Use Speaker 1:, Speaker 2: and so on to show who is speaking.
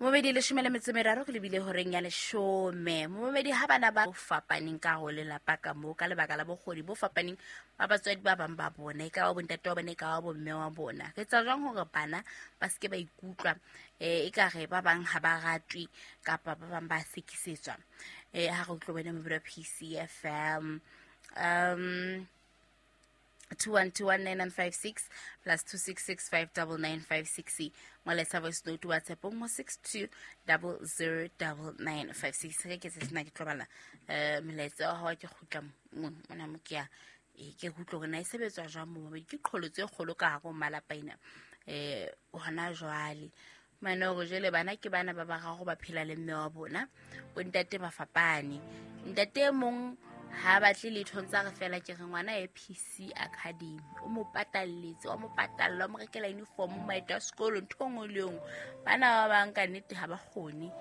Speaker 1: Momedi 13 re lebile horeng ya 10. Momedi ha bana ba fapaneng ka ho lelapa ka mo ka lebaka la bokgoni bo fapaneng ba batswadi ba bang ba bona, e ka ba bontate wa bona, e ka ba bomme wa bona. Re etsa jwang hore bana ba seke ba ikutlwa e ka re ba bang ha ba ratwe kapa ba bang ba sekisetswa? Ha re utlwe wena mobedi wa PCFM. 21219956 plus 26659956, ngwaletsa voice note WhatsApp mo 62009956. Ge ke se sena ke tlo bala molaetsa wa gago, ke kgutla mona mo ke ya ke utlwe gore na e sebetswa jwang mo mabedi. Ke qholotso e kgolo ka gare ho malapa ena hona jwale mane gore jele bana ke bana ba bararo ba phela le mme wa bona, bontate ba fapane. Ntate e mong ha batle letho, ntse a re fela ke re ngwana e PC Academy, o mo patalletse, wa mo patalla, o mo rekela uniform, maeto a sekolo, ntho e nngwe le e nngwe. Bana ba bang ka nnete ha ba kgone.